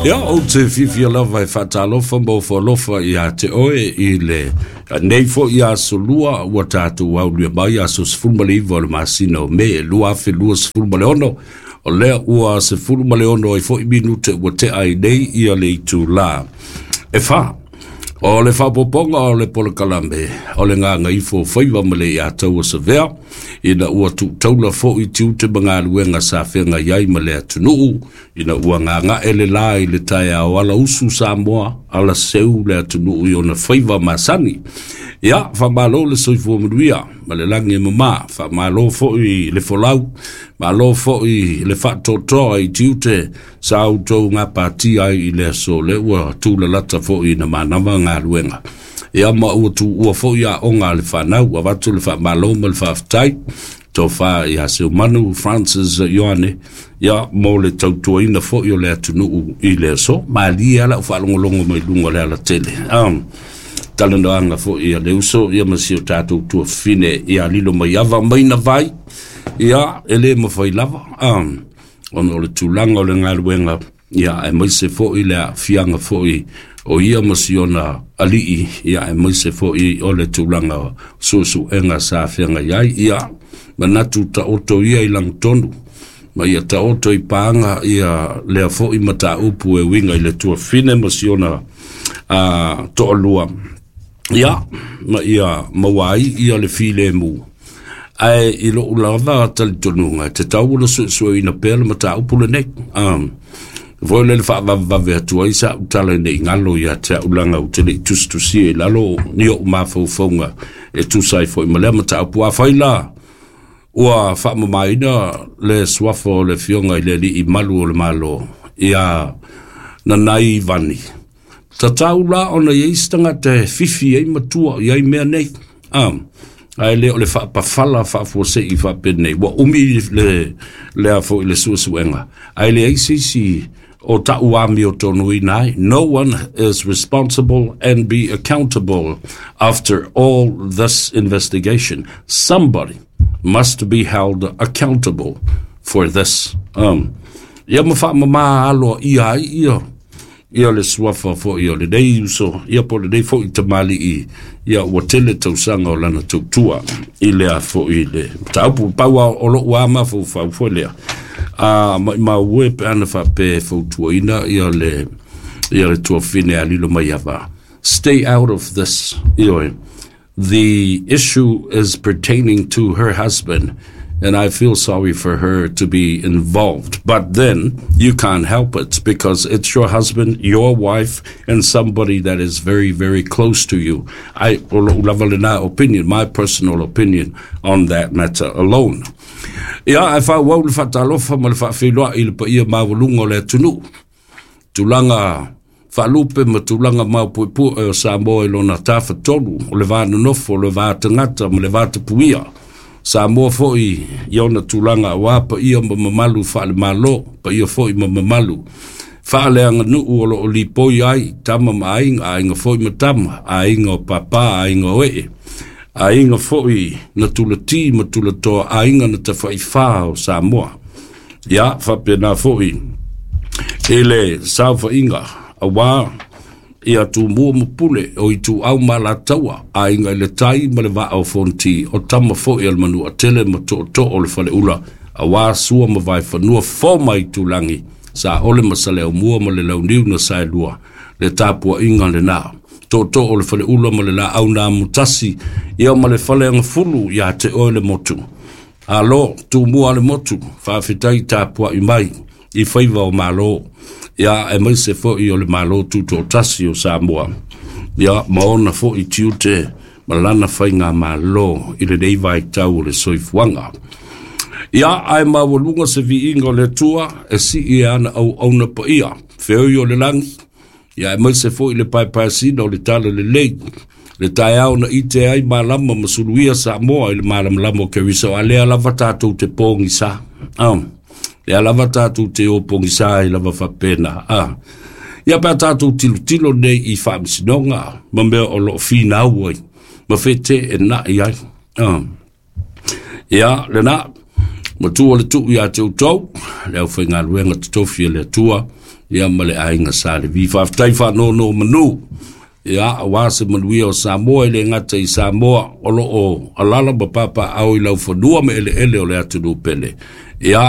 Ia, ou te fiafia lava e faatalofa ma ofo alofa ia te oe i le nei foi aso Lua ua tatou aulia mai, aso 19 o le masina o Me 2026, o lea ua 16 ai foi minute ua tea ai nei ia le itulā e 4. O le faapopoga o le polokalame o le Gagaifo Faiva ma le Iataua Savea, ina ua tuutaula foi tiute ma galuega sa feagai ai ma le atunuu, ina ua gagae le la i le taeao ala usu Samoa, ala seu le atunuu i ona faiva masani. Ia, faamalo le soifua manuia ma le lagi e mama, faamalo foi le folau, malo foi le faatoatoa i tiute sa outou gapatia ai i le aso le ua tulalata foi na manava galuega. Ia ma ua tuua foi aoga a le fanau, avatu le faamalo ma le faafetai tofa ia Seumanu Francis Ioane, ia mo le tautuaina foi o le atunuu i le aso. Malie ala o faalogologo mai luga o le alatele. Talanoaga foi ia le uso, ia ma si o tatou tuafine ia lilo mai ava mai na vai, ia e le mafai lava. Ona o le tulaga o le galuega, ia aemaise foi le aafiaga foi o ia ma si ona alii, ia aemaise foi o le tulaga suesuega sa feagai ai, ia manatu taoto ia i lagotonu, ma ia taoto i paga ia lea foi mataupu e uiga i le tuafine ma si ona toalua, ia ma ia maua ai ia le filemu. Ae i lou lava talitonuga, e tatau ona suesueina pea le mataupu lenei. Foi le faavavevave atu ai sa utala nei galo ia te au laga ou te le i tusitusia i lalo ni ou mafaufauga e tusa ai foi ma lea mataupu. Afai la ua faamamaina le suafa o le Afioga i le Alii Malu o le Malo ia Nanai Vani, tatau la ona i ai se tagata e fifi ai matua i ai mea nei. Ae le o le faapafala faafuasei faapenei ua umi le lea foi le suesuega, ae leai se isi o ta'u amiotonuina ai. No one is responsible and be accountable after all this investigation. Somebody must be held accountable for this. Ia ma faamamā aloaia ai ia ia le suafa foi o lenei uso, ia po o lenei foi tamalii, ia ua tele tausaga o lana tautua i lea foi le mataupu. Pau o lou a mafaufau foi lea, a maumau e pe ana faapea e fautuaina ia le tuafine a lilo mai ava. Stay out of this. Ioe. The issue is pertaining to her husband, and I feel sorry for her to be involved. But then you can't help it because it's your husband, your wife, and somebody that is very, very close to you. I lava lena opinion, my personal opinion on that matter alone. Ia, e faaauau le faatalofa ma le faafeiloai i le paia maualuga o le atunuu. Tulaga faalupe ma tulaga maupuepue o Samoa i lona tafatolu, o le va nonofo, o le va tagata ma le va tapuia. Samoa foi i ona tulaga auā paia ma mamalu faalemalo, paia foi ma mamalu faaleaganuu o loo lipoi ai tama ma aiga, aiga foi ma tama, aiga o papa, aiga o ee, aiga foi na tulati ma tulatoa, aiga na tafaifā o Samoa. Ia faapena foi i le saofaiga auā ia Tumua ma Pule o Ituau ma Alataua, aiga i le tai ma le vaa o Fonoti, o tama foi a le Manuatele ma tootoo o le Faleula, auā Sua ma Vaefanua, fo mai Tulagi, Saole ma Saleaumua ma le Launiu na Saelua, le tapuaiga lena. Tootoo o le Faleula ma le Laau na Amotasi, ia ma le Faleagafulu ia te oe le motu. Alo, Tumua le motu, faafetai tapuai mai i faiva o malo, ia aemaise foi o le Malo Tutoatasi o Samoa, ia ma ona foi tiute ma lana faiga malo i lenei vaitau o le soifuaga. Ia, ae maualuga se viiga o le Atua e sii e ana auauna paia, feoi o le lagi, ia aemaise foi le paepaeasina o le tala lelei, le taeao na ite ai malama ma suluia Samoa i le malamalama o Keriso, a lea lava tatou te pogisa. Lea lava tatou te o pogisa ai lava faapena. Ia pe a tatou tilotilo nei i faamasinoga ma mea o loo finau ai, ma feteenai ai. Ia, lena. Matua le tuu ia te outou, le aufaigaluega totofi a le Atua, ia ma le aiga Sa Levi. Faafetai faanonomanu, ia aua se manuia o Samoa, e le gata i Samoa o lo o alala ma papaaao i laufanua ma eleele o le atunuu pele. Ia